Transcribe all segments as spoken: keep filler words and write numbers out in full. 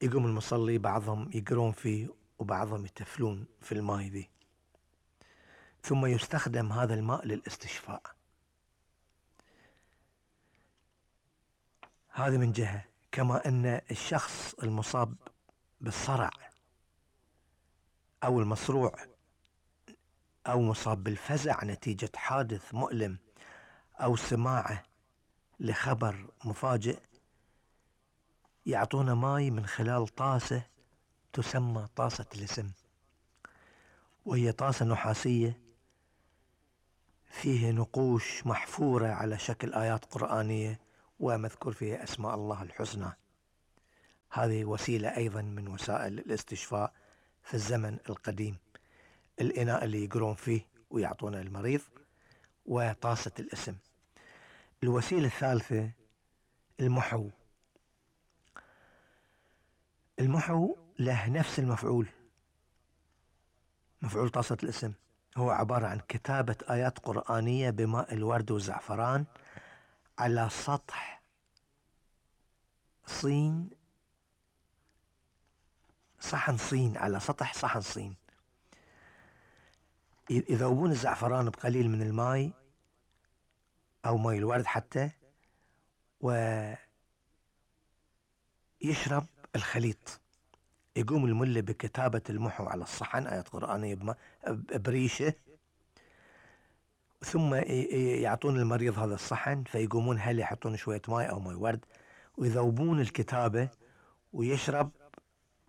يقوم المصلي بعضهم يقرون فيه وبعضهم يتفلون في الماء ذي، ثم يستخدم هذا الماء للاستشفاء. هذا من جهة. كما أن الشخص المصاب بالصرع أو المصروع أو مصاب بالفزع نتيجة حادث مؤلم أو سماعه لخبر مفاجئ، يعطونا ماي من خلال طاسة تسمى طاسة الاسم، وهي طاسة نحاسية فيه نقوش محفورة على شكل آيات قرآنية ومذكور فيها أسماء الله الحسنى. هذه وسيلة أيضا من وسائل الاستشفاء في الزمن القديم، الإناء اللي يقرون فيه ويعطونه المريض وطاسة الاسم. الوسيلة الثالثة المحو. المحو له نفس المفعول، مفعول طاسة الاسم، هو عبارة عن كتابة آيات قرآنية بماء الورد والزعفران على سطح صين، صحن صين، على سطح صحن صين. يذوبون الزعفران بقليل من الماء أو ماء الورد حتى، ويشرب الخليط. يقوم الملة بكتابة المحو على الصحن آيات قرآنية بريشة، ثم يعطون المريض هذا الصحن، فيقومون هل يحطون شوية ماء أو ماء ورد ويذوبون الكتابة ويشرب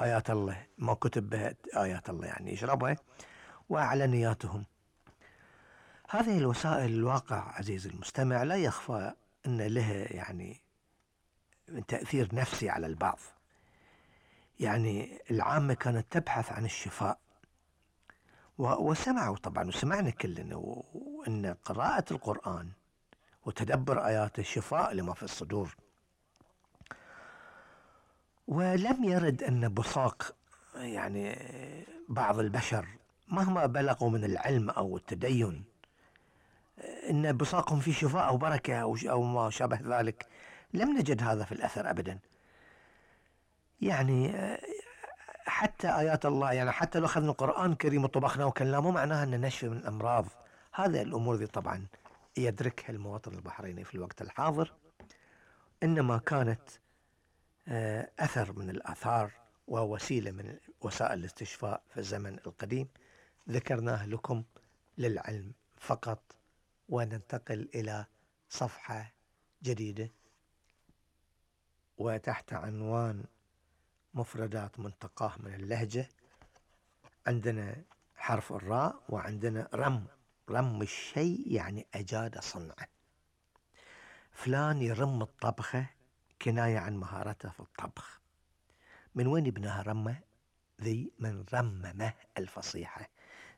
آيات الله، ما كتب بها آيات الله يعني يشربها وعلى نياتهم. هذه الوسائل الواقع عزيزي المستمع لا يخفى أن لها يعني تأثير نفسي على البعض. يعني العامة كانت تبحث عن الشفاء، وسمعوا طبعا وسمعنا كلنا أن قراءة القرآن وتدبر آياته شفاء لما في الصدور. ولم يرد أن بصاق يعني بعض البشر مهما بلغوا من العلم أو التدين أن بصاقهم في شفاء أو بركة أو ما شابه ذلك، لم نجد هذا في الأثر أبدا. يعني حتى آيات الله، يعني حتى لو أخذنا القرآن الكريم وطبخناه وكلناه مو معناها أن نشفي من الأمراض. هذه الأمور دي طبعا يدركها المواطن البحريني في الوقت الحاضر، إنما كانت أثر من الآثار ووسيلة من وسائل الاستشفاء في الزمن القديم، ذكرناه لكم للعلم فقط. وننتقل إلى صفحة جديدة وتحت عنوان مفردات منتقاه من اللهجة. عندنا حرف الراء وعندنا رم. رم الشيء يعني أجاد صنعه. فلان يرم الطبخة كناية عن مهارته في الطبخ. من وين يبناها رمه ذي؟ من رممه الفصيحة.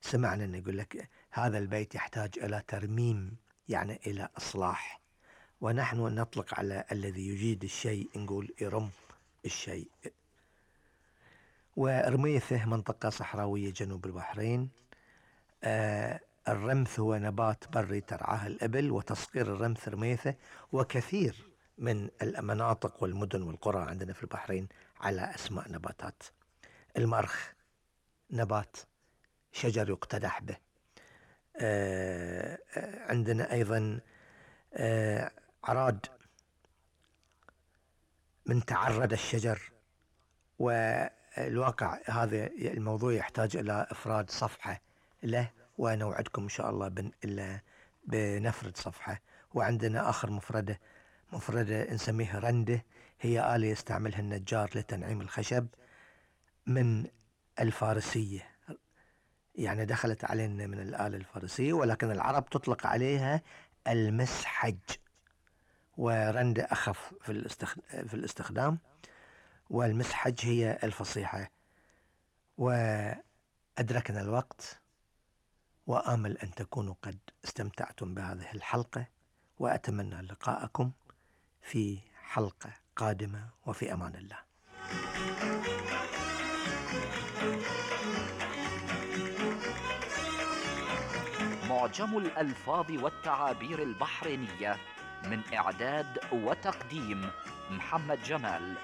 سمعنا أن يقول لك هذا البيت يحتاج إلى ترميم، يعني إلى إصلاح، ونحن نطلق على الذي يجيد الشيء نقول يرم الشيء. ورميثه منطقة صحراوية جنوب البحرين. آه الرمث هو نبات بري ترعاه الإبل، وتصغير الرمث رميثه. وكثير من المناطق والمدن والقرى عندنا في البحرين على أسماء نباتات. المرخ نبات شجر يقتدح به. آه عندنا أيضا آه عراد من تعرد الشجر. والواقع هذا الموضوع يحتاج إلى إفراد صفحة له، ونوعدكم إن شاء الله بن إلا بنفرد صفحة. وعندنا آخر مفردة مفردة نسميها رندة، هي آلة يستعملها النجار لتنعيم الخشب من الفارسية، يعني دخلت علينا من الآلة الفارسية، ولكن العرب تطلق عليها المسحج. ورندة أخف في الاستخدام، والمسحج هي الفصيحة. وأدركنا الوقت، وآمل أن تكونوا قد استمتعتم بهذه الحلقة، وأتمنى لقاءكم في حلقة قادمة، وفي أمان الله. معجم الألفاظ والتعابير البحرينية، من إعداد وتقديم محمد جمال.